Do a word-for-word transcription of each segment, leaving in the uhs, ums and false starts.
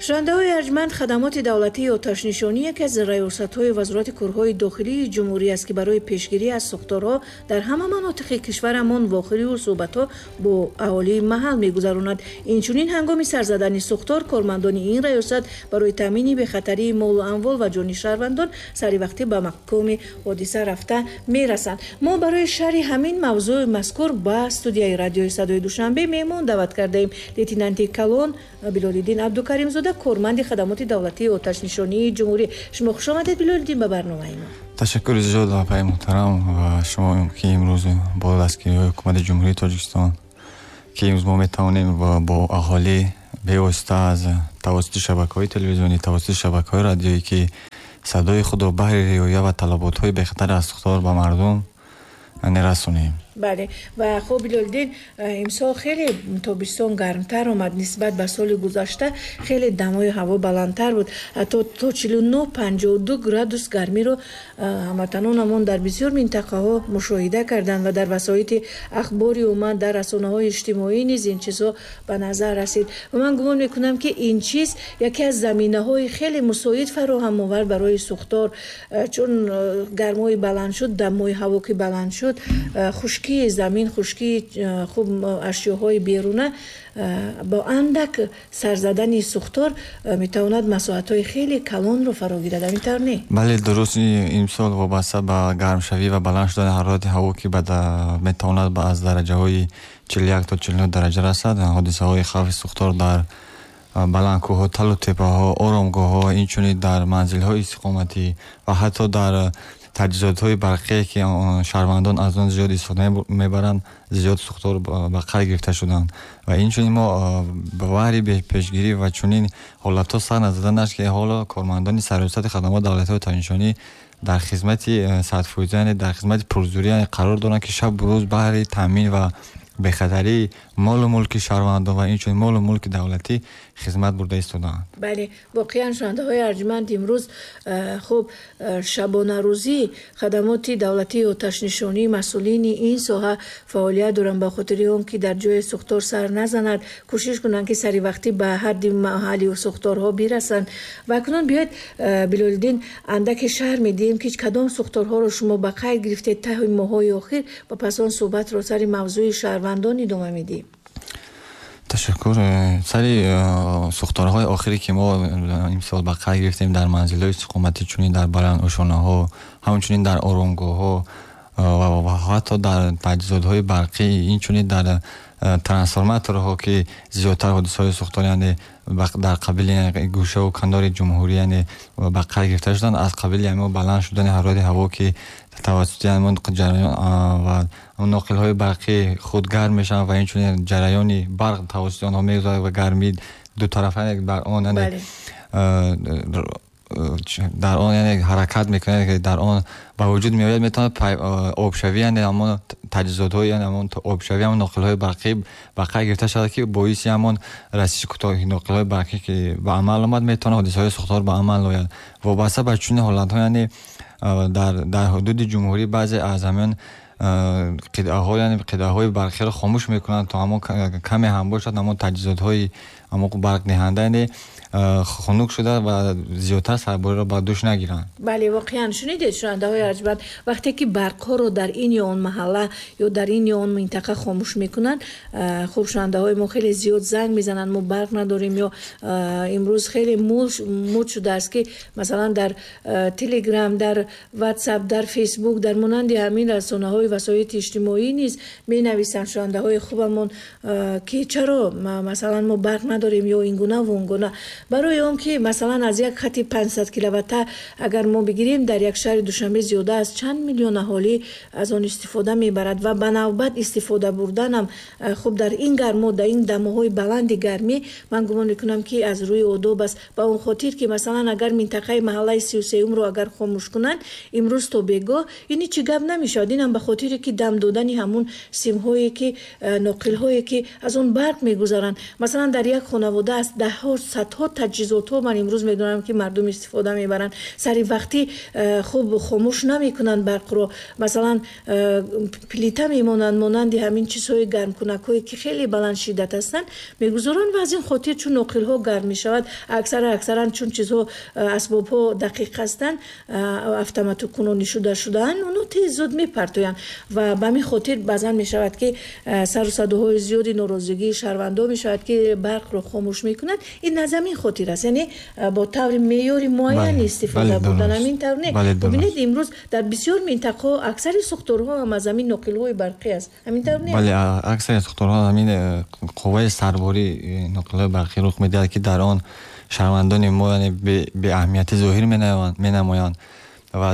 Шунавандаҳои арҷманд, хадамоти давлатии оташнишонӣ яке аз раёсатҳои Вазорати корҳои дохилии ҷумҳурӣ аст, ки барои пешгирӣ аз сӯхторҳо дар ҳама манотиқи кишварамон вохӯриву суҳбатҳо бо аҳолии маҳал мегузаронад. Инчунин ҳангоми сар задани сӯхтор кормандони ин раёсат барои таъмини бехатарии молу амвол ва ҷони шаҳрвандон саривақтӣ ба мақоми ҳодиса рафта мерасанд. Мо барои шарҳи ҳамин мавзӯи мазкур ба студияи радиои Садои Душанбе меҳмон даъват кардаем лейтенанти калон Билолиддин Абдукаримзода, корманди хадамоти давлатии оташнишонии ҷумҳурӣ. Шумо хуш омадед, Билолиддин, ба барномаи мо. Ташаккури зиёд, апаи муҳтарам, ва шумо, ки имрӯз бо дастгириҳои ҳукумати Ҷумҳурии Тоҷикистон, ки имрӯз мо метавонем бо аҳолӣ бевосита аз тавассути шабакаҳои телевизионӣ, тавассути шабакаҳои радиоӣ, ки садои худро баҳри риоя ва талаботҳои бехатар аз сӯхтор ба мардум расонем. Бале, ва хуб, Билолиддин, имсол хеле тобистон гармтар омад нисбат ба соли гузашта, хеле дамои ҳаво баландтар буд, ҳатто то чилу нӯҳ панҷоҳу ду градус гармиро ҳамватанонамон дар бисёр минтақаҳо мушоҳида карданд ва дар васоити ахбори умуман дар расонаҳои иҷтимоӣ низ ин чизҳо ба назар расид. Ва ман гумон мекунам, ки ин чиз яке аз заминаҳои хеле мусоид фароҳам овард барои сӯхтор, чун гармои баланд шуд, дамои ҳаво ки баланд шуд, хушкии замин, хушкии хуб ашёҳои беруна бо андак сарзадани сӯхтор метавонад масоҳатҳои хеле калонро фаро гирад. Ҳамин тавр не? Бале, дуруст. Имсол вобаста ба гармшавӣ ва баланд шудани ҳарорати ҳаво, ки метавонад аз дараҷаҳои чилу як то чилу нӯҳ дараҷа расад, ҳодисаҳои хавфи сӯхтор дар баландкӯҳҳо, талу теппаҳо, оромгоҳҳо, инчунин дар манзилҳои истиқоматӣ ва ҳатто дар таҷҳизотҳои барқие, ки шаҳрвандон аз он зиёд истифода мебаранд, зиёд сӯхтор ба қайд гирифта шуданд. Ва инчунин мо ба баҳри пешгирӣ ва чунин ҳолатҳо сар назаданаш, ки ҳоло кормандони сарраёсати хадамоти давлатии оташнишонӣ дар хизмати садфоиза, яъне дар хизмати пурзӯрӣ қарор доранд, ки шабу рӯз баҳри таъмин ва бехатарии молу мулки шаҳрвандон ва инчунин молу мулки давлатӣ хизмат бурда истодаанд. Бале, воқеан, шунавандаҳои арҷманд, имрӯз хуб шабонарӯзӣ хадамоти давлатии оташнишонӣ, масъулини ин соҳа фаъолият доранд ба хотири он ки дар ҷои сӯхтор сар назанад, кӯшиш кунанд, ки саривақтӣ ба ҳадди маҳалли сӯхторҳо бирасанд. Ва акнун биёед, Билолиддин, андаке шарҳ медиҳем, ки кадом сӯхторҳоро шумо ба қайд гирифтед таҳи моҳҳои охир ва пас он суҳбатро сари мавзӯи шаҳрвандон идома медиҳем. Ташаккур. Сари сӯхторҳои охире, ки мо имсол ба қайд гирифтем дар манзилҳои истиқоматӣ, чунин дар баландошонаҳо, ҳамчунин дар оромгоҳҳо ва ҳатто дар таҷҳизотҳои барқӣ, инчунин дар трансформаторҳо, ки зиёдтар ҳодисаҳои сӯхтор, яъне дар қабили гӯшаву канори ҷумҳурӣ, яъне ба қайд гирифта шуданд, аз қабили ҳамон баланд шудани ҳарорати ҳаво, ки тавассути ҳамон ҷараён ва ноқилҳои барқӣ худ гарм мешаванд ва инчунин ҷараёни барқ тавассути онҳо мегузарад ва гармӣ дутарафа бар он, яъне дар он, яъне ҳаракат мекунад, ки дар он ба вуҷуд меояд, метавонад обшавӣ, яъне ҳамон таҷҳизотҳои, яъне ҳамон обшавӣ ҳамон ноқилҳои барқӣ ба қайд гирифта шавад, ки боиси ҳамон расиши кӯтоҳи ноқилҳои барқӣ, ки ба амал омад, метавонад ҳодисаҳои сӯхтор ба амал ояд. Вобаста ба чунин ҳолатҳо, яъне дар дар ҳудуди ҷумҳурӣ баъзе аз ҳамин қитъаҳо, яъне қитъаҳои барқиро хомӯш мекунанд, то ҳамон каме ҳам бошад, ҳамон таҷҳизотҳои ҳамон барқдиҳанда, яъне хунук шуда ва зиёдтар сарбориро ба дӯш нагиранд. Бале, воқеан, шунидед, шунавандаҳои арҷманд, вақте ки барқҳоро дар ин ё он маҳалла ё дар ин ё он минтақа хомӯш мекунанд, хуб шунавандаҳои мо хеле зиёд занг мезананд, мо барқ надорем, ё имрӯз хеле муд шудааст, ки масалан дар Телеграм, дар Ватсап, дар Фейсбук, дар монанди ҳамин расонаҳои васоити иҷтимоӣ низ менависанд шунавандаҳои хубамон, ки чаро масалан мо барқ надорем ё ин гуна ва он гуна. Барои он ки масалан аз як хати панҷсад киловатта агар мо бигирем, дар як шаҳри Душанбе зиёда аз чанд миллион аҳолӣ аз он истифода мебарад ва ба навбат истифода бурданам хуб дар ин гармо, дар ин дамоҳои баланди гармӣ, ман гумон мекунам, ки аз рӯи одоб аст, ба он хотир ки масалан агар минтақаи маҳаллаи сию сеюмро агар хомӯш кунанд имрӯз то бегоҳ, ин ҳеҷ гап намешавад. Инам ба хотири хотире ки дам додани ҳамун симҳое ки ноқилҳое ки аз он барқ мегузаранд. Масалан, дар як хонавода аз даҳҳо, садҳо таҷҳизотҳо ман имрӯз медонам ки мардум истифода мебаранд, сари вақтӣ хуб хомӯш намекунанд барқро. Масалан, плита мемонанд, монанди ҳамин чизҳои гармкунакҳое ки хеле баланд шиддат ҳастанд мегузоранд ва аз ин хотир чун ноқилҳо гарм мешавад, аксара аксаран чун чизҳо асбобҳо дақиқ ҳастанд, автоматикунонӣ шуда шудаанд, онҳо тез зуд мепартоянд ва ба ҳамин хотир баъзан мешавад ки сару садоҳои зиёди норозигии шаҳрвандо мешавад ки барқро хомӯш мекунанд. Ин аз ҳамин хотир аст, яъне бо таври меъёри муайян истифода бурдан, ҳамин тавр не? Бибинед, имрӯз дар бисёр минтақаҳо аксари сӯхторҳо ҳам аз ҳамин ноқилҳои барқӣ аст, ҳамин тавр не? Бале, аксари сӯхторҳо аз ҳамин қувваи сарбории ноқилҳои барқӣ рух медиҳад, ки дар он шаҳрвандони мо яъне беаҳамиятӣ зоҳир менамоянд ва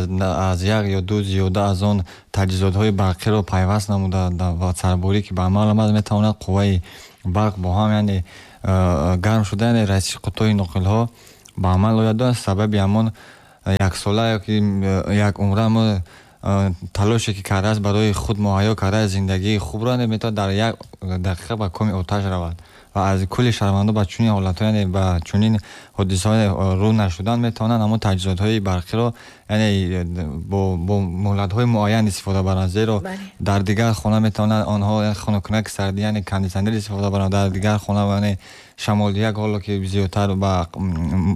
аз як ё ду зиёда аз он таҷҳизотҳои барқиро пайваст намуда ва сарборӣ ки ба амал омад метавонад қувваи барқ бо ҳам яъне гарм шуда, яъне расиши қутои ноқилҳо ба амал ояд. Сабаби ҳамон яксола ёки як умра мо талоше ки кардааст барои худ муҳайё кардааст зиндагии хубро, метавонад дар як дақиқа ба коми оташ равад ва аз кулли шаҳрвандон ба чунин ҳолатҳо, яъне ба чунин ҳодисаҳо рӯ нашудан метавонанд ҳамон таҷҳизотҳои барқиро яъне бо муҳлатҳои муайян истифода баранд, зеро дар дигар хона метавонанд онҳо хунуккунаки сардӣ яъне кондитсионер истифода баранд, дар дигар хона яъне шамолдиҳак ҳоло ки зиёдтар ба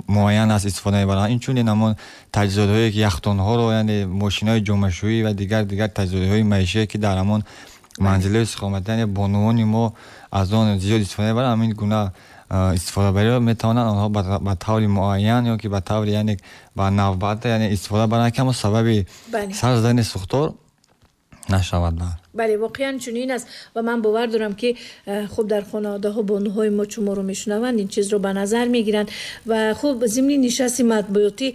муайян аст истифода мебаранд. Инчунин ҳамон таҷҳизотҳое ки яхдонҳоро яъне мошинҳои ҷомашӯӣ ва дигар дигар таҷҳизотҳои маишие ки дар ҳамон манзилҳои истиқоматӣ яъне бонувони мо аз он зиёд истифода мебаранд, ҳамин гуна истифодабариро метавонанд онҳо ба таври муайян ё ки ба таври яъне ба навбат яъне истифода баранд, ки ҳамон сабаби сар задани сӯхтор нашавад. Бале, воқеан чунин аст ва ман бовар дорам ки хуб дар хонаводаҳо бонуҳои мо чун моро мешунаванд ин чизро ба назар мегиранд. Ва хуб, зимни нишасти матбуотӣ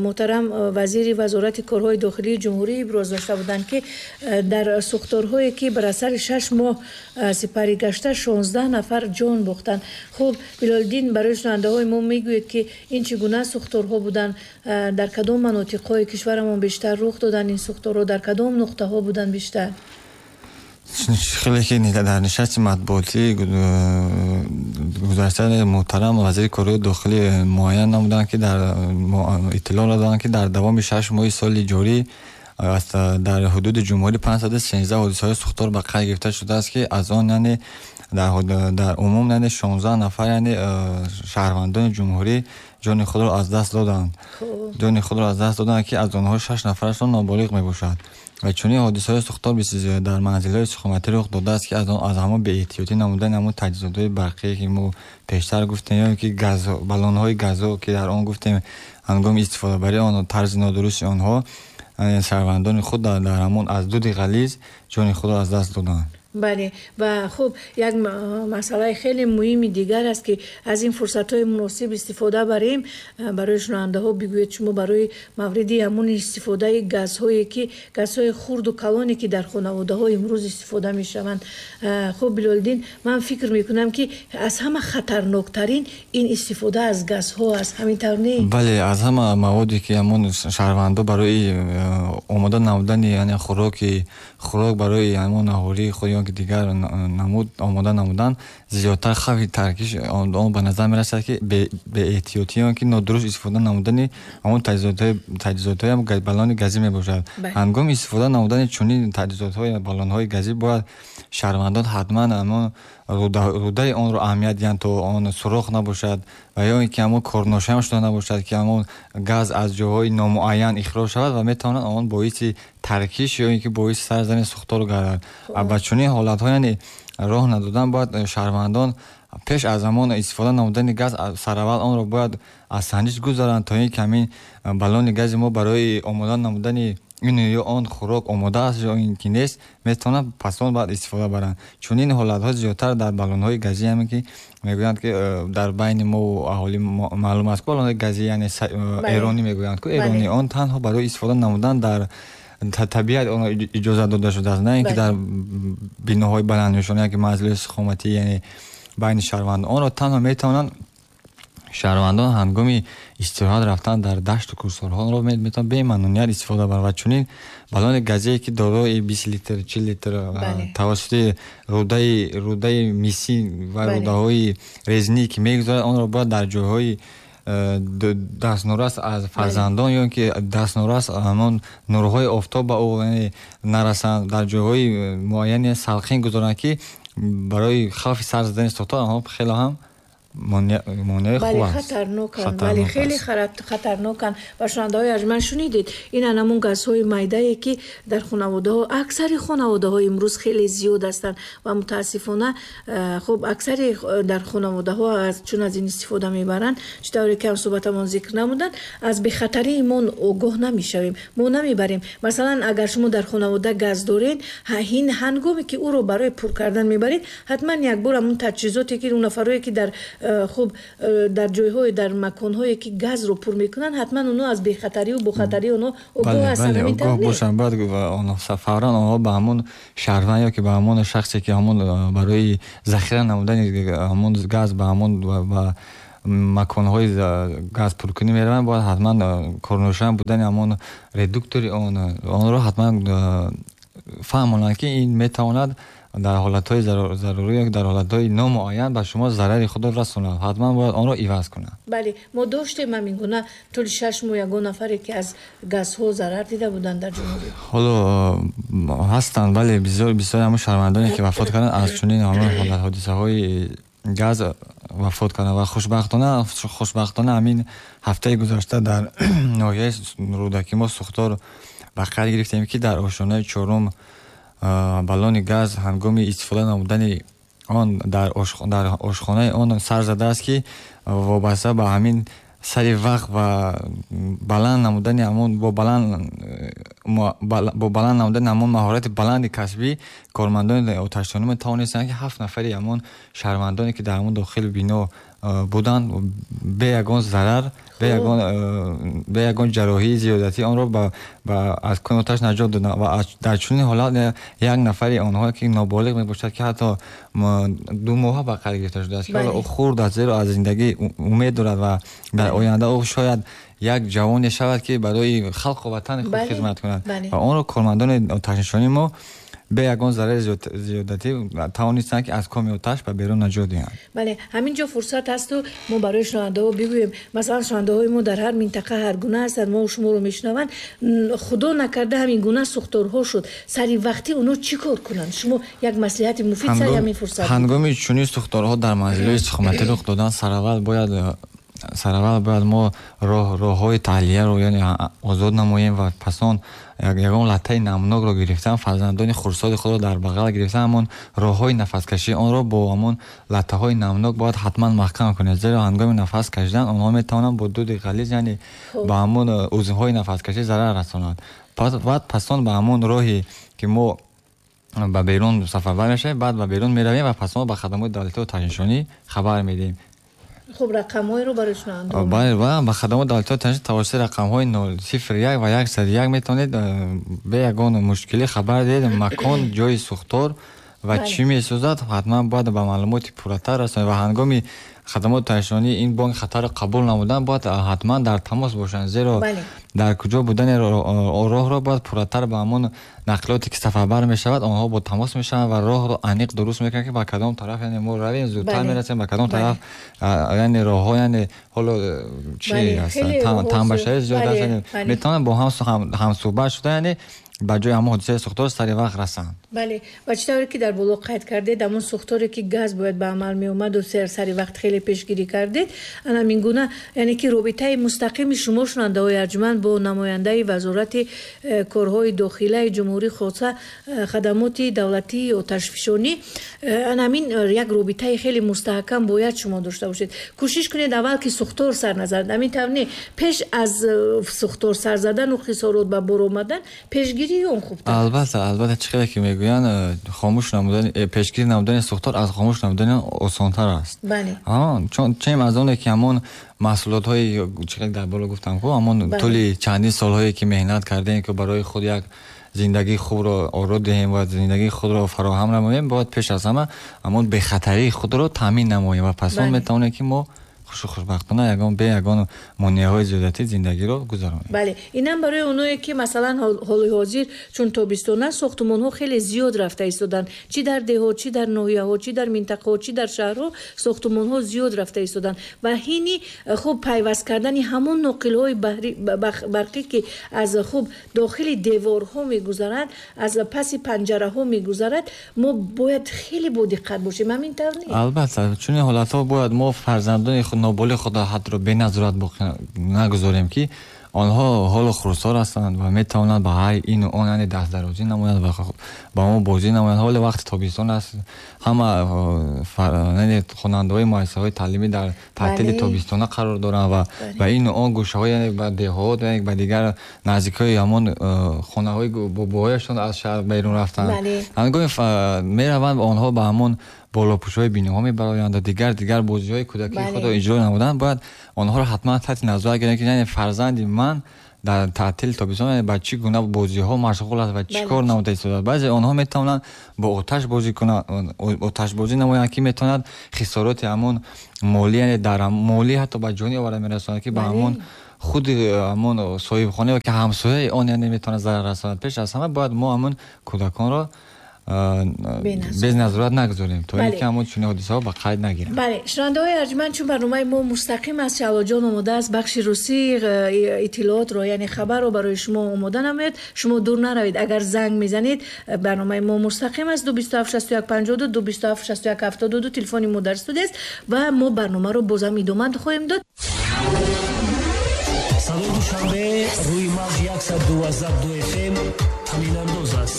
муҳтарам вазири вазорати корҳои дохилии ҷумҳурӣ иброз дошта буданд ки дар сӯхторҳое ки бар асари шаш моҳ сипарӣ гашта шонздаҳ нафар ҷон бохтанд. Хуб, Билолиддин, барои шунавандаҳои мо мегӯед ки ин чӣ гуна сӯхторҳо буданд, дар кадом манотиқҳои кишварамон бештар рух доданд ин сӯхторҳо, дар кадом нуқтаҳо буданд бештар? Хеле ки дар нишасти матбуотӣ гузашта муҳтарам вазири корҳои дохилӣ муайян намуданд ки дар иттилоъ доданд ки дар давоми шаш моҳи соли ҷорӣ дар ҳудуди ҷумҳурӣ панҷсаду сенздаҳ ҳодисаҳои сӯхтор ба қайд гирифта шудааст, ки аз он яъне дар умум яъне шонздаҳ нафар яъне шаҳрвандони ҷумҳурӣ ҷони худро аз даст доданд, ҷони худро аз даст доданд ки аз онҳо шаш нафарашон ноболиғ мебошад. Ва чунин ҳодисаҳои сӯхтор дар манзилҳои истиқоматӣ рух додааст ки аз ҳамон беэҳтиётӣ намудани ҳамон таҷҳизотҳои барқие ки мо пештар гуфтем, ё ки баллонҳои газо ки дар он гуфтем, ҳангоми истифодабарии он тарзи нодурусти онҳо шаҳрвандони худ дар ҳамон аз дуди ғализ ҷони худро аз даст доданд. Бале, ва хуб, як масъалаи хеле муҳими дигар аст ки аз ин фурсатҳои муносиб истифода барем. Барои шунавандаҳо бигӯед шумо барои мавриди ҳамон истифодаи газҳое ки газҳои хурду калоне ки дар хонаводаҳо имрӯз истифода мешаванд. Хуб, Билолиддин, ман фикр мекунам ки аз ҳама хатарноктарин ин истифода аз газҳо аст, ҳамин тавр не? Бале, аз ҳама маводе ки ҳамон шаҳрвандо барои омода намудани яъне хӯроки хӯрок барои ҳамон аҳолии худ ё ки дигар намуд омода намудан зиёдтар хавфи таркиш он ба назар мерасад ки беэҳтиётӣ ё ки нодуруст истифода намудани ҳамон таҷҳизотҳои баллони газӣ мебошад. Ҳангоми истифода намудани чунин таҷҳизотҳои баллонҳои газӣ бояд шаҳрвандон ҳатман ҳамон рудаи онро аҳамият диҳанд то он сурох набошад ва ё ин ки ҳамон корношоям шуда набошад ки ҳамон газ аз ҷоҳои номуайян ихроҷ шавад ва метавонад он боиси таркиш ё ин ки боиси сар задани сӯхтор гардад. Ба чунин ҳолатҳо яъне роҳ надодан бояд шаҳрвандон пеш аз ҳамон истифода намудани газ сараввал онро бояд аз санҷиш гузаранд то ин ки ҳамин баллони гази мо барои омода намудани ин ё он хӯрок омода аст ё ин ки нест, метавонанд пас он баъд истифода баранд. Чунин ҳолатҳо зиёдтар дар баллонҳои газӣ ҳаме ки мегӯянд ки дар байни мо аҳолӣ маълум аст ки баллонҳои газӣ яъне эронӣ мегӯянд ку эронӣ он танҳо барои истифода намудан дар табиат он иҷозат дода шудааст, на ин ки дар биноҳои баланднишона ки манзилҳои истиқоматӣ яъне байни шаҳрвандон онро танҳо метавонанд Шаҳрвандон ҳангоми истироҳат рафтан дар дашту кӯҳсорҳоро метавонанд бемамнуният истифода баранд ва чунин баллони газие ки дорои бист литр, чил литр тавассути рӯдаи рӯдаи мисӣ ва рӯдаҳои резинӣ ки мегузорад, онро бояд дар ҷойҳои дастнорас аз фарзандон ё ин ки дастнорас ҳамон нурҳои офтоб ба ӯ нарасанд, дар ҷойҳои муайяне салқин гузоранд, ки барои хавфи сар задани сӯхтор онҳо хеле ҳам монеаи хуб аст. Хатарноканд, бале, хеле хатарноканд. Ва шунавандаҳои арҷманд, шунидед, ин ҳамон газҳои майдае ки дар хонаводаҳо, аксари хонаводаҳо имрӯз хеле зиёд ҳастанд ва мутаассифона хуб аксари дар хонаводаҳо чун аз ин истифода мебаранд, чӣ тавре ки ҳамсӯҳбатамон зикр намуданд, аз бехатарии мо огоҳ намешавем, мо намебарем. Масалан, агар шумо дар хонавода газ доред, ҳангоме ки ӯро барои пур кардан мебаред, ҳатман якбор ҳамон таҷҳизоте ки он нафарое ки дар хуб дар ҷойҳое, дар маконҳое ки газро пур мекунанд, ҳатман онҳо аз бехатариву бохатарии онҳо огоҳ ҳастанд. Огоҳ бошанд. Баъд фавран онҳо ба ҳамон шаҳрванд ё ки ба ҳамон шахсе ки ҳамон барои захира намудани ҳамон газ ба ҳамон ба маконҳои газ пуркунӣ мераванд, бояд ҳатман корношоям будани ҳамон редуктори он онро ҳатман фаҳмонанд, ки ин метавонад дар ҳолатҳои зарурӣ ё дар ҳолатҳои номуайян ба шумо зарари худро расонад. Ҳатман бояд онро иваз кунад. Бале, мо доштем ҳамин гуна тӯли шаш моҳ ягон нафаре ки аз газҳо зарар дида буданд дар ҷумҳурӣ? Ҳоло ҳастанд, бале, бисёр бисёр ҳамон шаҳрвандоне ки вафот карданд аз чунин ҳамон ҳолат ҳодисаҳои газ вафот карданд ва хушбахтона хушбахтона ҳамин ҳафтаи гузашта дар ноҳияи Рӯдакӣ мо сӯхтор ба қайд гирифтем, ки дар ошёнаи чорум баллони газ ҳангоми истифода намудани он дар ошхонаи он сар задааст, ки вобаста ба ҳамин сари вақт ва баланд намудани ҳамон бо баланд бо баланд намудани ҳамон маҳорати баланди касбӣ кормандони оташнишонӣ тавонистанд, ки ҳафт нафари ҳамон шаҳрвандоне ки дар ҳамон дохили бино буданд, бе ягон зарар, бе ягон бе ягон ҷарроҳии зиёдатӣ онро аз кони оташ наҷот доданд. Ва дар чунин ҳолат як нафари онҳо ки ноболиғ мебошад, ки ҳатто ду моҳа ба қайд гирифта шудааст, ки ҳоло ӯ хурд аст, зеро аз зиндагӣ умед дорад ва дар оянда ӯ шояд як ҷавоне шавад, ки барои халқу ватани худ хизмат кунад. Ва онро кормандони оташнишонии мо бе ягон зарари зиёдатӣ тавонистанд, ки аз коми оташ ба берун наҷот диҳанд. Бале, ҳамин ҷо фурсат ҳасту мо барои шунавандаҳо бигӯем. Масалан, шунавандаҳои мо дар ҳар минтақа ҳар гуна ҳастанд, мо шуморо мешунаванд. Худо накарда ҳамин гуна сӯхторҳо шуд, сари вақтӣ онҳо чӣ кор кунанд? Шумо як маслиҳати муфид сари ҳамин фурсат. Ҳангоми чунин сӯхторҳо дар манзилҳои истиқоматӣ рух додан, сараввал бояд сараввал бояд мо роҳҳои таҳлияро яъне озод намоем ва пас он ягон латтаи намнокро гирифтан, фарзандони хурдсоли худро дар бағал гирифтан, ҳамон роҳҳои нафаскашии онро бо ҳамон латтаҳои намнок бояд ҳатман маҳкам кунед, зеро ҳангоми нафас кашидан онҳо метавонанд бо дуди ғализ, яъне ба ҳамон узвҳои нафаскашӣ зарар расонанд. Баъд пас он ба ҳамон роҳе ки мо ба берун сафарбар мешавем, баъд ба берун меравем ва пас он ба хадамоти давлатии оташнишонӣ хабар медиҳем. Хуб, рақамҳоеро барои шунавандаҳо. Бале, ба хадамоти давлатии оташнишонӣ тавассути рақамҳои нол сифр як ва яксаду як метавонед бе ягон мушкилӣ хабар диҳед. Макон, ҷойи сӯхтор ва чӣ месӯзад, ҳатман бояд ба маълумоти пурратар расонед ва ҳангоми хадамоти оташнишонӣ ин бонги хатарро қабул намудан бояд ҳатман дар тамос бошанд, зеро дар куҷо будани роҳро бояд пурратар ба ҳамон нақлиёте ки сафарбар мешавад онҳо бо тамос мешаванд ва роҳро аниқ дуруст мекунанд, ки ба кадом тараф яъне мо равем зудтар мерасем, ба кадом тараф яъне роҳҳо яъне ҳоло чи ҳастанд, танбашавӣ зиёд аст, метавонанд бо ҳам ҳамсӯҳбат шуда яъне ба ҷои ҳамон ҳодисаи сӯхтор сари вақт расанд. Бале, ва чӣ тавре ки дар боло қайд кардед, ҳамон сӯхторе ки газ бояд ба амал меомаду сари вақт хеле пешгирӣ кардед, ана ҳамин гуна яъне ки робитаи мустақими шумо, шунавандаҳои арҷманд, бо намояндаи Вазорати э, корҳои дохилаи ҷумҳурӣ, хоса э, хадамоти давлатии оташфишонӣ, э, ана ҳамин як робитаи хеле мустаҳкам бояд шумо дошта бошед. Кӯшиш кунед аввал ки сӯхтор сар назанад, ҳамин тавр не, пеш аз сӯхтор сар задану хисорот ба бор омадан пешгирӣ он хубтар. Албатта, албатта, чӣ хеле ки мегӯянд, хомӯш намудани, пешгирӣ намудани сӯхтор аз хомӯш намудани он осонтар аст. Бале. Чун чем аз оне ки ҳамон маҳсулотҳои чӣ хеле дар боло гуфтам, ку ҳамон тӯли чандин солҳое ки меҳнат кардем, ки барои худ як зиндагии хубро оро диҳем ва зиндагии худро фароҳам намоем, бояд пеш аз ҳама ҳамон бехатарии худро таъмин намоем ва пас он метавонем, ки мо хушу хушбахтона ягон бе ягон монеаҳои зиёдатӣ зиндагиро гузаронем. Бале, инам барои оное ки масалан ҳоли ҳозир чун тобистон аст, сохтмонҳо хеле зиёд рафта истоданд, чӣ дар деҳот, чӣ дар ноҳияҳо, чӣ дар минтақаҳо, чӣ дар шаҳрҳо сохтмонҳо зиёд рафта истоданд ва ҳини хуб пайваст кардани ҳамон ноқилҳои барқӣ ки аз хуб дохили деворҳо мегузаранд, аз паси панҷараҳо мегузарад, мо бояд хеле бодиққат бошем. Ҳамин тавр нест? Албатта, чунин ҳолатҳо бояд мо фарзандони худ, ноболиғи худро ҳатто беназорат нагузорем, ки онҳо ҳоло хурдсол ҳастанд ва метавонанд ба ҳар ину он яъне дастдарозӣ намоянд ва ба мо бозӣ намоянд. Ҳоло вақти тобистон аст, ҳама хонандаҳои муассисаҳои таълимӣ дар таътили тобистона қарор доранд ва ба ину он гӯшаҳо, яъне ба деҳот, яъне ба дигар наздикҳои ҳамон хонаҳои бобоҳояшон аз шаҳр берун рафтанд. Ҳангоми мераванд онҳо ба ҳамон болопӯшҳои биноҳо мебароянд ва дигар дигар бозиҳои кӯдакии худро иҷро намуданд. Бояд онҳоро ҳатман таҳти назорат гиранд, ки яъне фарзанди ман дар таътили тобистон ба чӣ гуна бозиҳо машғул аст ва чӣ кор намуда истодааст. Баъзе онҳо метавонанд бо оташ бозӣ кунанд, оташбозӣ намоянд, ки метавонад хисороти ҳамон молӣ, яъне дар молӣ ҳатто ба ҷони оварда мерасонад, ки ба ҳамон худи ҳамон соҳибхона ё ки ҳамсояи он яъне метавонад зарар расонад. Пеш аз ҳама бояд мо ҳамон кӯдаконро безназорат нагузорем, то ин ки ҳамон чунин ҳодисаҳо ба қайд нагиранд. Бале, шунавандаҳои арҷманд, чун барномаи мо мустақим аст, Шаҳлоҷон омода аст бахши русӣ иттилоотро, яъне хабарро барои шумо омода намояд. Шумо дур наравед, агар занг мезанед, барномаи мо мустақим аст. Ду бисту ҳафт шасту як панҷоҳу ду, ду бисту ҳафт шасту як ҳафтоду ду телефони мо дар студия аст ва мо барномаро бозам идома хоҳем дод. Садои Душанбе рӯи мавҷ яксаду дувоздаҳ ду эф эм ҳаминандоз аст.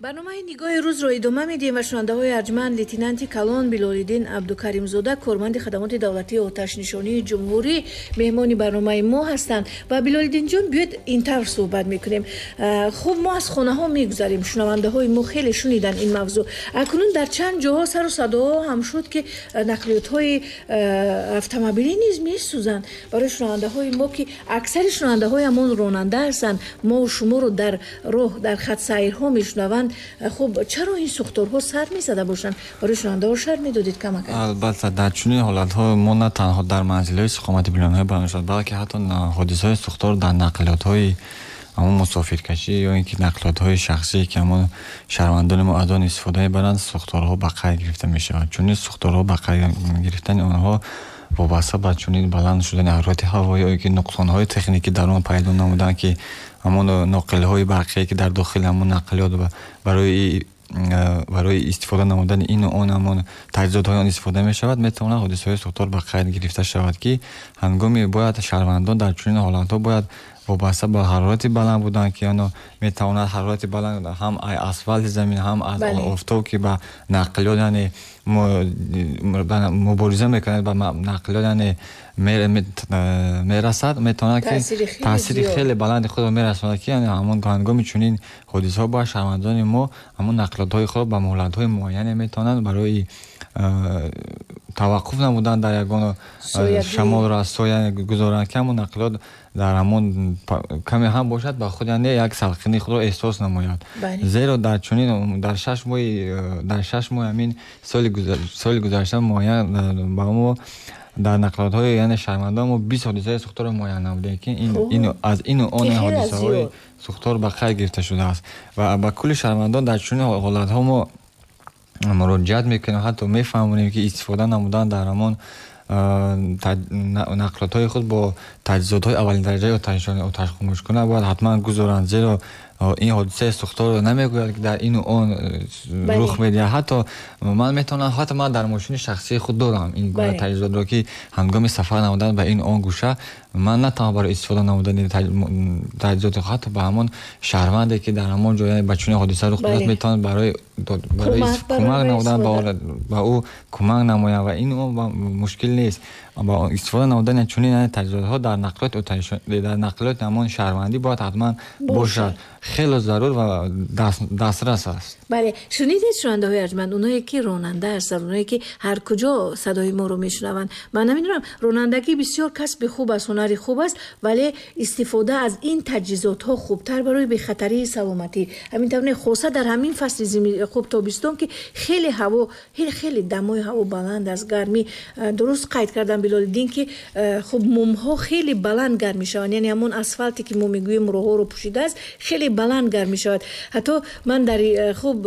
Барномаи нигоҳи рӯзро идома медиҳем ва шунавандаҳои арҷманд, лейтенанти калон Билолиддин Абдукаримзода, корманди хадамоти давлатии оташнишонии ҷумҳурӣ, меҳмони барномаи мо ҳастанд. Ва Билолиддинҷон, биёед ин тавр суҳбат мекунем. Хуб, мо аз хонаҳо мегузарем, шунавандаҳои мо хеле шуниданд ин мавзӯъ. Акнун дар чанд ҷоҳо сару садоҳо ҳам шуд, ки нақлиётҳои автомобилӣ низ месӯзанд. Барои шунавандаҳои мо, ки аксари шунавандаҳои ҳамон ронанда ҳастанд, мо шуморо дар роҳ, дар хатсайрҳо мешунаванд. Хуб, чаро ин сӯхторҳо сар мезада бошанд? Барои шунавандаҳо шарҳ медодед камак? Албатта, дар чунин ҳолатҳо мо на танҳо дар манзилҳои истиқомати биноҳои баланд шуд, балки ҳатто ҳодисаҳои сӯхтор дар нақлиётҳои ҳамон мусофиркашӣ ё ин ки нақлиётҳои шахсие ки ҳамон шаҳрвандони мо аз он истифода мебаранд, сӯхторҳо ба қайд гирифта мешаванд. Чунин сӯхторҳо ба қайд гирифтани онҳо вобаста ба чунин баланд шудани ҳарорати ҳаво ё ин ки нуқсонҳои техникӣ дар он пайдо намуданд, ки ҳамон ноқилҳои барқие ки дар дохили ҳамон нақлиёт барои барои истифода намудани ину он ҳамон таҷҳизотҳои он истифода мешавад, метавонад ҳодисаҳои сӯхтор ба қайд гирифта шавад, ки ҳангоми бояд шаҳрвандон дар чунин ҳолатҳо бояд вобаста ба ҳарорати баланд будан, ки оно метавонад ҳарорати баланд ҳам асфалти замин, ҳам аз офтоб, ки ба нақлиёт яъне мубориза мекунад, ба нақлиёт яъне мерасад, метавонад ки таъсири хеле баланди худро мерасонад, ки ҳамон ҳангоми чунин ҳодисаҳо бояд шаҳрвандони мо ҳамон нақлиётҳои худро ба муҳлатҳои муайяне метавонанд барои таваққуф намудан дар ягон шамолро соя гузоранд, ки ҳамон нақлиёт дар ҳамон каме ҳам бошад ба худ яъне як салқини худро эҳсос намояд. Зеро дар чунин дар шаш моҳи дар шаш моҳи ҳамин соли гузашта муайян ба мо дар нақлиётҳои яъне шаҳрвандон мо бист ҳодисаи сӯхторро муайян намудем, ки аз ину он ҳодисаҳои сӯхтор ба қайд гирифта шудааст ва ба кулли шаҳрвандон дар чунин ҳолатҳо мо муроҷиат мекунем, ҳатто мефаҳмонем, ки истифода намудан дар ҳамон нақлиётҳои худ бо таҷҳизотҳои аввалин дараҷаи оташхомӯшкунак бояд ҳатман гузоранд, зеро ин ҳодисаи сӯхторро намегӯяд, ки дар ину он рух медиҳад. Ҳатто ман метавонам, ҳатто ман дар мошини шахсии худ дорам ин гуна таҷҳизотро, ки ҳангоми сафар намудан ба ин он гӯша ман на танҳо барои истифода намудани таҷҳизоти худ, ҳатто ба ҳамон шаҳрванде ки дар ҳамон ҷо ба чунин ҳодиса рух додааст, метавонад барои барои кӯмак намудан ба ӯ кӯмак намояд ва ин мушкил нест. Ба истифода намудани чунин таҷҳизотҳо дар нақлиёт дар нақлиёти ҳамон шаҳрвандӣ бояд ҳатман бошад. хеле зарур ва дастрас аст. Бале, шунидед шунавандаҳои арҷманд, онҳое ки ронанда ҳастанд, онҳое ки ҳар куҷо садои моро мешунаванд. Ман намедонам, ронандагӣ бисёр касби хуб аст, ҳунари хуб аст, вале истифода аз ин таҷҳизотҳо хубтар барои бехатарии саломатӣ. Ҳамин тавр хоса дар ҳамин фасли хуб тобистон ки хеле ҳаво, хеле дамои ҳаво баланд аст, гармӣ. Дуруст қайд кардам Билолиддин ки хуб мумҳо хеле баланд гарм мешаванд, яъне ҳамон асфалте ки мо мегӯем роҳҳоро пӯшидааст хеле баланд гарм мешавад. Ҳатто ман дар хуб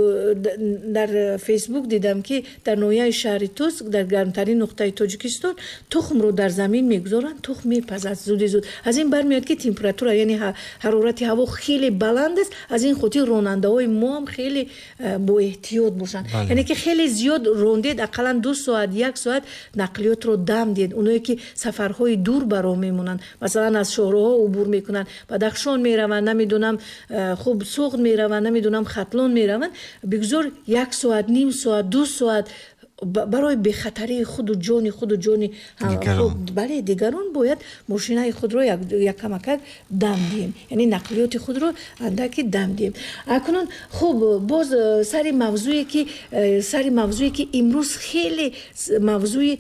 дар Фейсбук дидам ки дар ноҳияи шаҳри Тус, дар гармтарин нуқтаи Тоҷикистон, тухмро дар замин мегузоранд, тухм мепазад зуди зуд. Аз ин бармеояд ки температура, яъне ҳарорати ҳаво хеле баланд аст. Аз ин хотир ронандаҳои мо ҳам хеле боэҳтиёт бошанд. Яъне ки хеле зиёд рондед, ақаллан ду соат, як соат нақлиётро дам диҳед. Онҳое ки сафарҳои дур ба роҳ мемонанд, масалан аз шоҳроҳҳо убур мекунанд, Бадахшон мераванд, намедонам хуб Суғд мераванд, намедонам Хатлон мераванд, бигзор як соат, ним соат, ду соат барои бехатарии худу ҷони худу ҷони бале дигарон бояд мошинаи худро якамакак дам диҳем, яъне нақлиёти худро андаки дам диҳем. Акнун хуб боз сари мавзӯе ки сари мавзӯе ки имрӯз хеле мавзӯи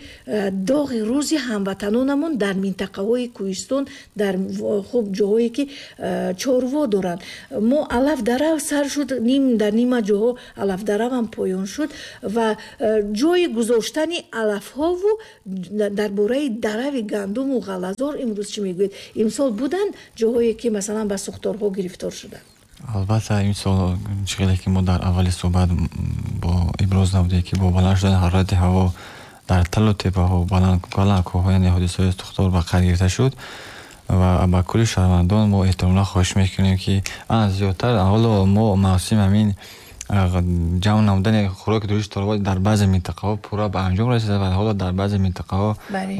доғи рӯзи ҳамватанонамон дар минтақаҳои кӯҳистон, дар хуб ҷоҳое ки чорво доранд. Мо алафдарав сар шуд, ним дар нима ҷоҳо алафдаравам поён шуд ва ҷои гузоштани алафҳову дар бораи дарави гандуму ғалазор имрӯз чӣ мегӯед? Имсол буданд ҷоҳое ки масалан ба сӯхторҳо гирифтор шуданд? Албатта имсол чӣ хеле ки мо дар аввали суҳбат бо иброз намудем ки бо баланд шудани ҳарорати ҳаво дар талу теппаҳо, баланд кӯҳҳо, яъне ҳодисаҳои сӯхтор ба қайд гирифта шуд ва ба кулли шаҳрвандон мо эҳтиромона хоҳиш мекунем ки зиёдтар ҳоло мо мавсим ҳамин ҷамъ намудани хӯроки дуришти чорво дар баъзе минтақаҳо пурра ба анҷом расида ва ҳоло дар баъзе минтақаҳо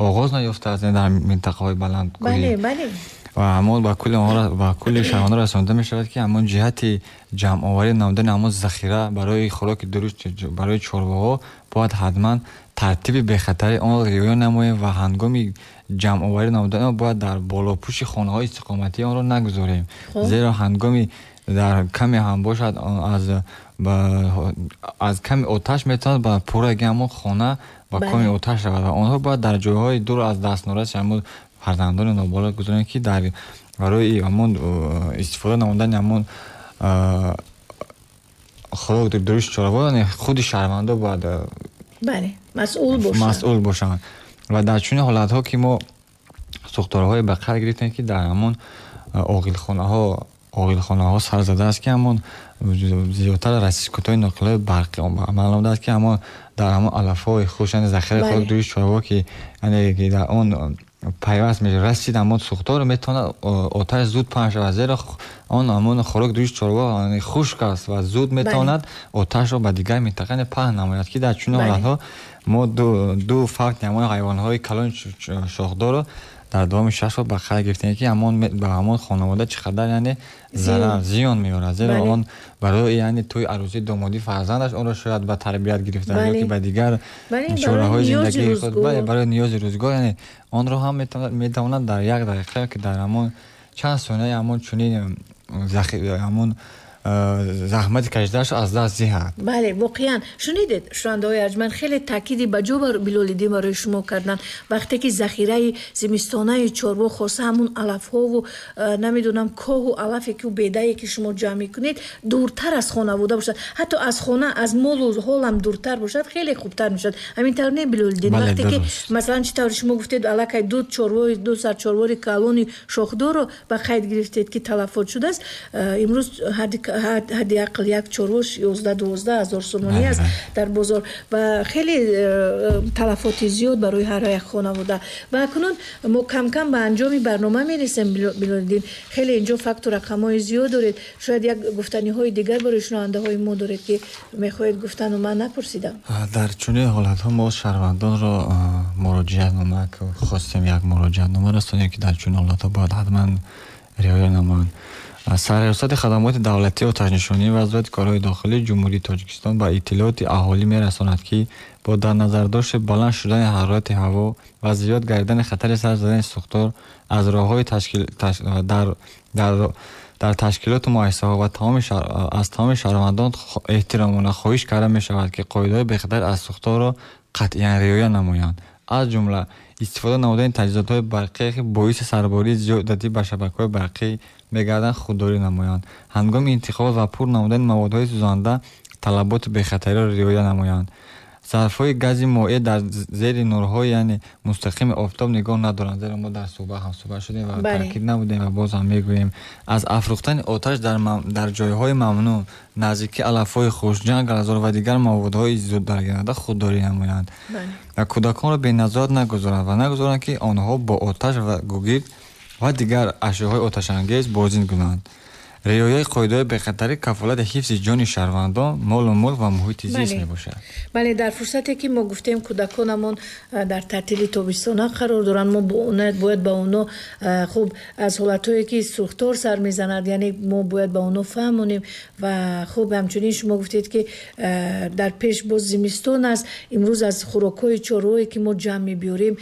оғоз наёфтааст, дар минтақаҳои баландкӯҳӣ. Ва ҳамон ба кулли онҳо, ба кулли шаҳрвандон расонида мешавад ки ҳамон ҷиҳати ҷамъоварӣ намудани ҳамон захира барои хӯроки дуришт барои чорвоҳо бояд ҳатман тартиби бехатарии онро риоя намоем ва ҳангоми ҷамъоварӣ намудани он бояд дар болопӯши хонаҳои истиқоматии онро нагузорем, зеро ҳангоми дар каме ҳам бошад аз аз ками оташ метавонад ба пурраги ҳамон хона ба коми оташ равад ва онҳо бояд дар ҷойҳои дур аз дастнораси ҳамон фарзандони ноболиғ гузорем ки дар барои ҳамон истифода намудани ҳамон хӯрок дуришти чорво худи шаҳрвандо бояд масъул бошанд масъул бошанд. Ва дар чунин ҳолатҳо ки мо сӯхторҳое ба қайд гирифтем ки дар ҳамон оғилхонаҳо оғилхонаҳо сар задааст ки ҳамон зиёдтар расискутҳои ноқилҳои барқӣ амал намудааст ки ҳамон дар ҳамон алафҳои хушк, яъне захираи хӯрок дуришти чорво ки яъне дар он пайваст расид ҳамон сӯхтор метавонад оташ зуд паҳн шавад, зеро он ҳамон хӯрок дуришти чорво хушк аст ва зуд метавонад оташро ба дигар минтақа паҳн намояд ки дар чунин ҳолатҳо мо ду фавти ҳамон ҳайвонҳои калони шохдорро дар давоми шаш сол ба қайд гирифтем ки ҳамон ба ҳамон хонавода чӣ қадар яъне зарар зиён меорад, зеро он барои яъне тӯи арӯсии домодии фарзандаш онро шояд ба тарбият гирифта ё ки ба дигар чораҳои зиндагии худ, бале, барои ниёзи рӯзгор, яъне онро ҳам метавонад дар як дақиқа ки дар ҳамон чанд сонияи ҳамон чунин ҳамон заҳмати кашидаашро аз даст диҳад. Бале, воқеан шунидед шунавандаҳои арҷманд, хеле таъкиди ба ҷо Билолиддин барои шумо карданд. Вақте ки захираи зимистонаи чорво хоса ҳамун алафҳову намедонам коҳу алафе ки бедае ки шумо ҷамъ мекунед дуртар аз хонавода бошад, ҳатто аз хона аз молу ҳолам дуртар бошад, хеле хубтар мешавад. Ҳамин тавр не Билолиддин? Вақте ки масалан чӣ тавр шумо гуфтед аллакай ду чорвои ду сар чорвори калони шохдорро ба қайд гирифтед ки талафот шудааст, имрӯз ҳадди ақл як чорвош ёздаҳ дувоздаҳ ҳазор сомонӣ аст дар бозор ва хеле талафоти зиёд барои ҳар як хонавода. Ва акнун мо камкам ба анҷоми барнома мересем. Билолиддин, хеле инҷо факту рақамҳои зиёд доред, шояд як гуфтаниҳои дигар барои шунавандаҳои мо доред ки мехоҳед гуфтану ман напурсидам. Дар чунин ҳолатҳо мо шаҳрвандонро муроҷиатнома хостем, як муроҷиатнома расонем ки дар чунин ҳолатҳо бояд ҳатман риоя намоянд. Сарраёсати хадамоти давлатии оташнишонӣ ва вазорати корҳои дохилии Ҷумҳурии Тоҷикистон ба иттилооти аҳолӣ мерасонад ки бо дар назардошти баланд шудани ҳарорати ҳаво ва зиёд гардидани хатари сар задани сӯхтор аз роҳҳои Дар ташкилоту муассисаҳо ва аз тамоми шаҳрвандон эҳтиромона хоҳиш карда мешавад, ки қоидаҳои бехатарӣ аз сӯхторро қатъиян риоя намоянд. Аз ҷумла истифода намудани таҷҳизотҳои барқие, ки боиси сарбории зиёдатӣ ба шабакаҳои барқӣ мегарданд, худдорӣ намоянд. Ҳангоми интиқол ва пур намудани маводҳои сӯзанда талаботи бехатариро риоя намоянд. Зарфҳои гази моеъ дар зери нурҳои яъне мустақими офтоб нигоҳ надоранд, зеро мо дар суҳбат ҳамсуҳбат шудем ва таъкид намудем ва боз ҳам мегӯем. Аз афрӯхтани оташ дар ҷойҳои мамнӯъ, наздики алафҳои хушк, ҷангалзор ва дигар маводҳои зуддаргиранда худдорӣ намоянд ва кӯдаконро беназорат нагузоранд ва нагузоранд, ки онҳо бо оташ ва гугирд ва дигар ашёҳои оташангез бозӣ кунанд. Риояи қоидаҳои бехатарӣ кафолати ҳифзи ҷони шаҳрвандон, молу мулк ва муҳити зист мебошад. Бале, дар фурсате ки мо гуфтем кӯдаконамон дар таътили тобистона қарор доранд, мо бояд ба онҳо хуб аз ҳолатҳое ки сӯхтор сар мезанад, яъне мо бояд ба онҳо фаҳмонем. Ва хуб ҳамчунин шумо гуфтед, ки дар пеш боз зимистон аст. Имрӯз аз хӯрокҳои чорвое ки мо ҷамъ мебиёрем,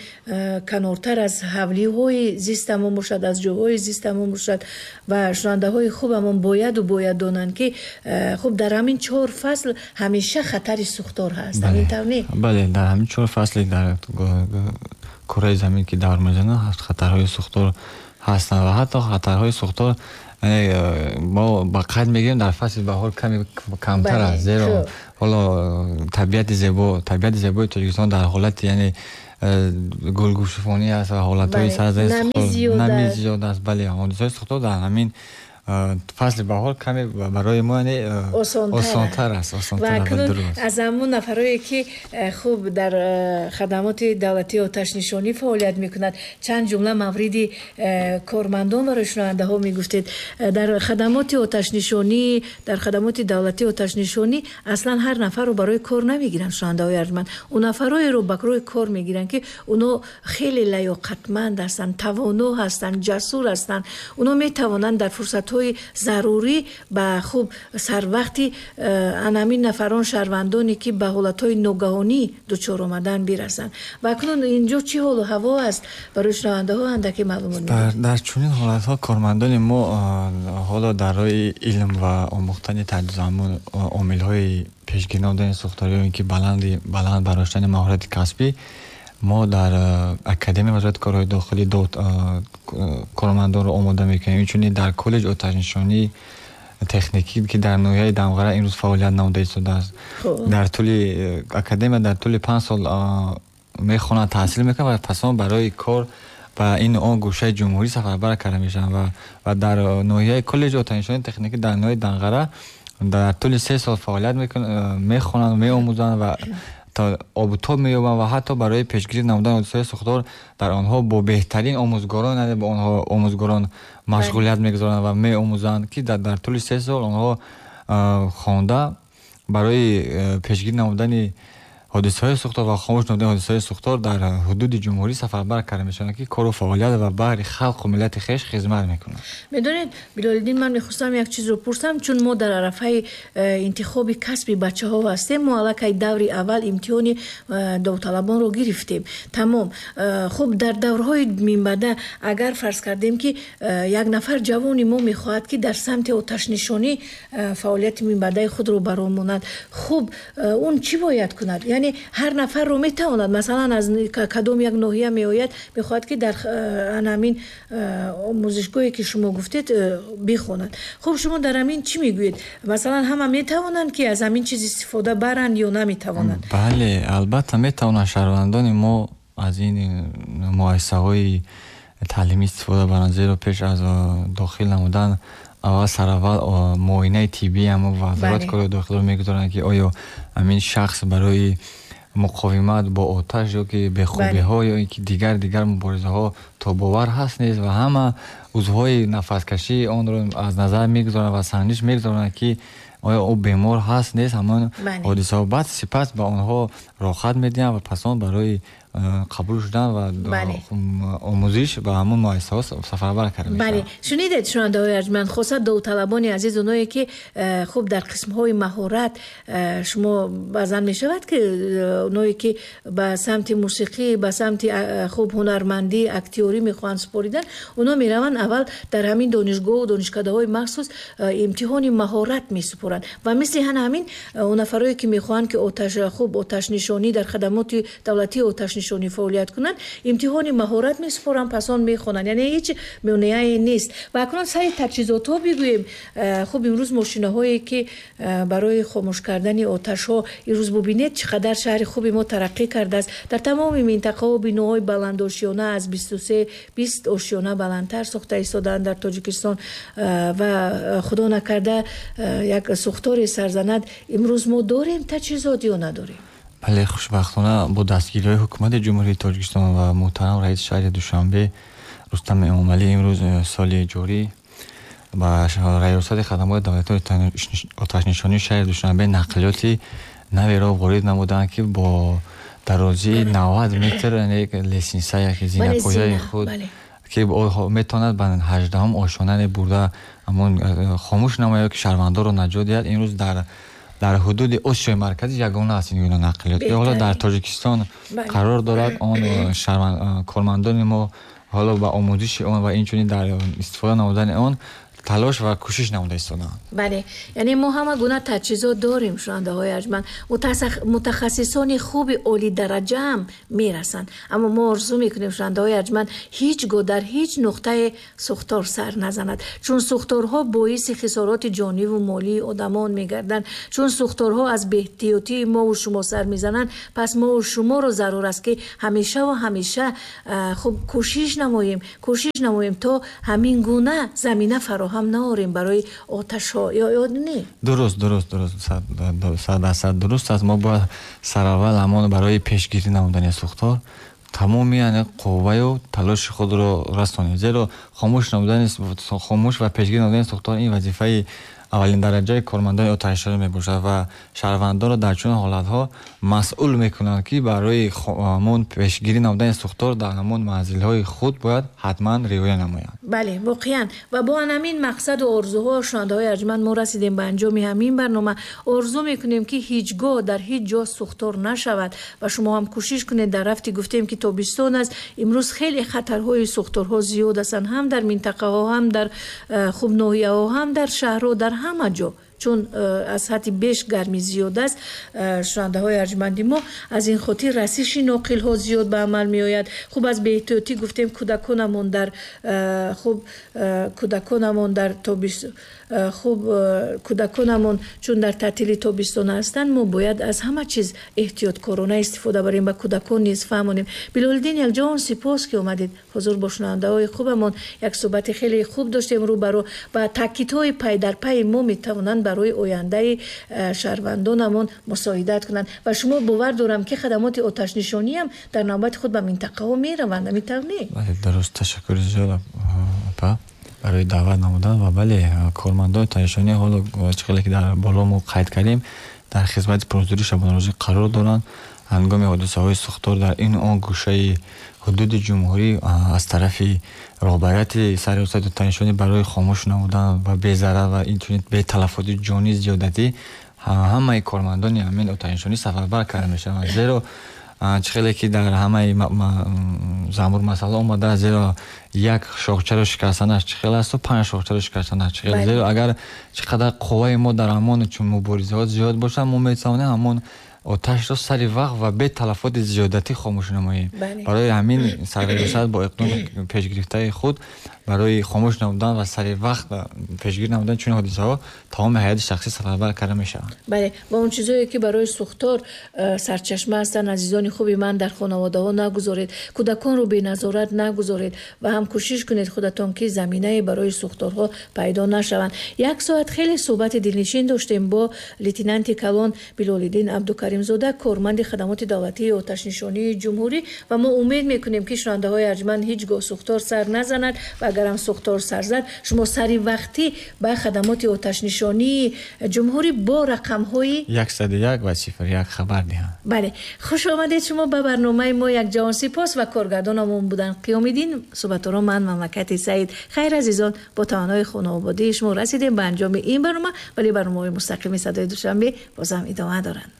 канортар аз ҳавлиҳои зистамон бошад, аз ҷойҳои зистамон бошад. Ва шунавандаҳои хуб ҳамон бояду бояд донанд, ки хуб дар ҳамин чор фасл ҳамеша хатари сӯхтор ҳаст. Ҳамин тавр не? Бале, дар ҳамин чор фасли дар кураи замин ки давр мезанад, хатарҳои сӯхтор ҳастанд ва ҳатто хатарҳои сӯхтор мо ба қайд мегирем дар фасли баҳор каме камтар аст, зеро ҳоло табиати зебо табиати зебои Тоҷикистон дар ҳолати яъне гулгушуфонӣ аст ва ҳолатҳои сарзани нами зиёд аст. Бале, ҳодисаҳои сӯхтор дар ҳамин фасли баҳор каме барои мо яъне осонтар аст. Ва акнун аз ҳамон нафарое ки хуб дар хадамоти давлатии оташнишонӣ фаъолият мекунад, чанд ҷумла мавриди кормандон барои шунавандаҳо мегуфтед. Дар хадамоти оташнишонӣ, дар хадамоти давлатии оташнишонӣ аслан ҳар нафарро барои кор намегиранд, шунавандаҳои арҷманд. Он нафароеро барои кор мегиранд, ки онҳо хеле лаёқатманд ҳастанд, тавоно ҳастанд, ҷасур ҳастанд. Онҳо метавонанд дар фурсатҳои зарурӣ ба хуб сарвақти анамин нафарон, шаҳрвандоне ки ба ҳолатҳои ногаҳонӣ дучор омадан бирасанд. Ва акнун инҷо чӣ ҳолу ҳаво аст барои шунавандаҳо андаке маълумот медиҳед? Дар чунин ҳолатҳо кормандони мо ҳоло дар роҳи илм ва омӯхтани таҷҳизот, омилҳои пешгирӣ намудани сӯхторӣ ё ин ки баланд бардоштани маҳорати касбӣ, мо дар Академияи вазорати корҳои дохилӣ кормандонро омода мекунем. Инчунин дар коллеҷи оташнишонии техникӣ, ки дар ноҳияи Дамғара имрӯз фаъолият намуда истодааст, дар тӯли академия дар тӯли панҷ сол мехонанд, таҳсил мекунанд ва пас он барои кор ба ин он гӯшаи ҷумҳурӣ сафарбар карда мешаванд. Ва дар ноҳияи коллеҷи оташнишонии техникӣ дар ноҳияи Данғара дар тӯли се сол фаъолият мехонанд, меомӯзанд ва обутоб меёбанд ва ҳатто барои пешгирӣ намудани ҳодисаҳои сӯхтор дар онҳо бо беҳтарин омӯзгорон, яъне бо онҳо омӯзгорон машғулият мегузоранд ва меомӯзанд, ки дар тӯли се сол онҳо хонда барои пешгирӣ намудани ҳодисаҳои сӯхтор ва хомӯш намудани ҳодисаҳои сӯхтор дар ҳудуди ҷумҳурӣ сафарбар карда мешаванд, ки кору фаъолият ва баҳри халқу миллати хеш хизмат мекунанд. Медонед, Билолиддин, ман мехостам як чизро пурсам, чун мо дар арафаи интихоби касби бачаҳо ҳастем. Мо аллакай даври аввал имтиҳони довталабонро гирифтем. Тамом. Хуб, дар даврҳои минбаъда агар фарз кардем, ки як нафар ҷавони мо мехоҳад, ки дар самти оташнишонӣ фаъолияти минбаъдаи худро баромонад, хуб, он чӣ бояд кунад? Яъне ҳар нафарро метавонад, масалан аз кадом як ноҳия меояд, мехоҳад, ки дар ҳамин омӯзишгоҳе ки шумо гуфтед бихонад. Хуб, шумо дар ҳамин чӣ мегӯед? Масалан ҳама метавонанд, ки аз ҳамин чиз истифода баранд ё наметавонанд? Бале, албатта метавонанд шаҳрвандони мо аз ин муассисаҳои таълимӣ истифода баранд, зеро пеш аз дохил намудан аввал сараввал муоинаи тиббӣ ҳамо вазорати корҳои дохилиро мегузоранд, ки оё ҳамин шахс барои муқовимат бо оташ ё ки бехобиҳо ё ин ки дигар дигар муборизаҳо тобовар ҳаст нест, ва ҳама узвҳои нафаскашии онро аз назар мегузоранд ва санҷиш мегузоранд, ки оё ӯ бемор ҳаст нест. Ҳамон ҳодисаҳо баъд сипас ба онҳо роҳат медиҳанд ва пас он барои Қабул шудан ва омӯзиш ба ҳамон муассисаҳо сафарбар карда мешаванд. Бале, шунидед, шунавандаҳои арҷманд, хоса довталабони азиз, оное ки хуб дар қисмҳои маҳорат шумо баъзан мешавад ки оное ки ба самти мусиқӣ, ба самти хуб ҳунармандӣ, актёрӣ мехоҳанд супоридан, оно мераванд аввал дар ҳамин донишгоҳу донишкадаҳои махсус имтиҳони маҳорат месупоранд ва мисли ҳамин он нафарое ки мехоҳанд ки оташ хуб оташнишонӣ дар хадамоти давлатии оташнишонӣ фаъолият кунанд, имтиҳони маҳорат месупоранд, пас он мехонанд. Яъне ҳеҷ монеае нест. Ва акнун сари таҷҳизотҳо бигӯем. Хуб, имрӯз мошинаҳое ки барои хомӯш кардани оташҳо, имрӯз бубинед чӣ қадар шаҳри хуби мо тараққӣ кардааст. Дар тамоми минтақаҳо биноҳои баландошёна аз бисту се бист ошёна баландтар сохта истодаанд дар Тоҷикистон ва худо накарда як сӯхторе сарзанад, имрӯз мо дорем таҷҳизот ё надорем? Бале, хушбахтона бо дастгириҳои ҳукумати Ҷумҳурии Тоҷикистон ва муҳтарам раиси шаҳри Душанбе Рустам Эмомалӣ имрӯз соли ҷорӣ ба раёсати хадамоти давлатии оташнишонии шаҳри Душанбе нақлиёти наверо ворид намуданд, ки бо дарозии навад метр лесница яке зинапояи худ ки метавонад ба ҳаждаҳум ошёнае бурда ҳамон хомӯш намояд, ки шаҳрвандонро наҷот диҳад. Имрӯз дар дар ҳудуди Осиёи Марказӣ ягона аст ин гуна нақлиёт, ки ҳоло дар Тоҷикистон қарор дорад. Он кормандони мо ҳоло ба омӯзиши он ва инчунин дар истифода намудани он талош ва кӯшиш намуда истодаанд. Бале, яъне мо ҳама гуна таҷҳизот дорем, шунавандаҳои арҷманд. Мутахассисони хуби олидараҷа ҳам мерасанд, аммо мо орзу мекунем, шунавандаҳои арҷманд, ҳеҷ гоҳ дар ҳеҷ нуқтаи сӯхтор сар назанад, чун сӯхторҳо боиси хисороти ҷониву молии одамон мегарданд, чун сӯхторҳо аз беэҳтиётии мову шумо сар мезананд. Пас мову шуморо зарур аст ки ҳамеша ва ҳамеша хуб кӯшиш намоем, кӯшиш намоем то ҳамин гуна замина фароҳам ҳам наорем барои оташҳо, ё ё не? Дуруст, дуруст, дуруст, сад дарсад дуруст аст. Мо бояд сараввал ҳамон барои пешгирӣ намудани сӯхтор тамоми яъне қувваю талоши худро расонем, зеро хомӯш намудани хомӯш ва пешгирӣ намудани сӯхтор ин вазифаи аввалин дараҷаи кормандони оташнишонӣ мебошад ва шаҳрвандонро дар чунин ҳолатҳо масъул мекунанд, ки барои ҳамон пешгирӣ намудани сӯхтор дар ҳамон манзилҳои худ бояд ҳатман риоя намоянд. Бале, воқеан. Ва бо ҳамин мақсаду орзуҳо, шунавандаҳои арҷманд, мо расидем ба анҷоми ҳамин барнома. Орзу мекунем, ки ҳеҷ гоҳ дар ҳеҷ ҷо сӯхтор нашавад ва шумо ҳам кӯшиш кунед. Дар рафти гуфтем, ки тобистон аст, имрӯз хеле хатарҳои сӯхторҳо зиёд ҳастанд, ҳам дар минтақаҳо, ҳам дар хуб ноҳияҳо, ҳам дар шаҳрҳо, дар ҳама ҷо, чун аз ҳадди беш гармӣ зиёд аст. Шунавандаҳои арҷманди мо, аз ин хотир расиши ноқилҳо зиёд ба амал меояд. Хуб, аз беэҳтиётӣ гуфтем, кӯдаконамон дар хуб кӯдаконамон дар тобис хуб кӯдаконамон чун дар таътили тобистона ҳастанд, мо бояд аз ҳама чиз эҳтиёткорона истифода барем, ба кӯдакон низ фаҳмонем. Билолиддин, якҷон сипос, ки омадед. Ҳузур бо шунавандаҳои хубамон як суҳбати хеле хуб доштем рӯбарӯ ва таъкидҳои пайдарпайи мо метавонанд барои ояндаи шаҳрвандонамон мусоидат кунанд ва шумо бовар дорам, ки хадамоти оташнишонӣ ҳам дар навбати худ ба минтақаҳо мераванд, ҳамин тавр не? Бале, дуруст. Ташаккури зиёд, апа, барои даъват намудан. Ва бале, кормандони оташнишонӣ ҳоло чӣ хеле ки дар боло мо қайд кардем, дар хизмати пурзӯри шабонарӯзӣ қарор доранд. Ҳангоми ҳодисаҳои сӯхтор дар ин он гӯшаи ҳудуди ҷумҳурӣ аз тарафи роҳбарияти сарраёсати оташнишонӣ барои хомӯш намудан ва безарар ва инчунин беталафоти ҷонӣ зиёдатӣ ҳамаи кормандони ҳамин оташнишонӣ сафарбар карда мешаванд, зеро чӣ хеле ки дар ҳамаи замбур масъала омадааст, зеро як шохчаро шикастанаш чӣ хел асту панҷ шохчаро шикастанаш чӣ хел. Зеро агар чӣ қадар қувваи мо дар ҳамон чун муборизаҳо зиёд бошад, мо метавонем ҳамон оташро сари вақт ва бе талафоти зиёдатӣ хомӯш намоем. Барои ҳамин сарраёсат бо иқдоми пешгирифтаи худ барои хомӯш намудан ва сари вақт пешгирӣ намудан чунин ҳодисаҳо тамоми ҳайати шахсӣ сафарбар карда мешаванд. Бале, ва он чизое ки барои сӯхтор сарчашма ҳастанд, азизони хуби ман, дар хонаводаҳо нагузоред, кӯдаконро беназорат нагузоред ва ҳам кӯшиш кунед худатон, ки заминае барои сӯхторҳо пайдо нашаванд. Як соат хеле суҳбати дилнишин доштем бо лейтенанти калон Билолиддин Абдукарим. Каримзода, корманди хадамоти давлатии оташнишонии ҷумҳурӣ. Ва мо умед мекунем, ки шунавандаҳои арҷманд ҳеҷ гоҳ сӯхтор сар назанад ва агарам сӯхтор сар зад, шумо сари вақтӣ ба хадамоти оташнишонии ҷумҳурӣ бо рақамҳои яксаду як ва сифр як хабар диҳанд. Бале, хуш омадед шумо ба барномаи мо. Як ҷаҳон сипос ва коргардонамон буданд Қиёмиддин, суҳбатторо ман Мамлакати Саид. Хайр азизон, бо таманнои хонаводии шумо расидем ба анҷоми ин барнома, вале барномаҳои мустақими Садои Душанбе бозам идома доранд.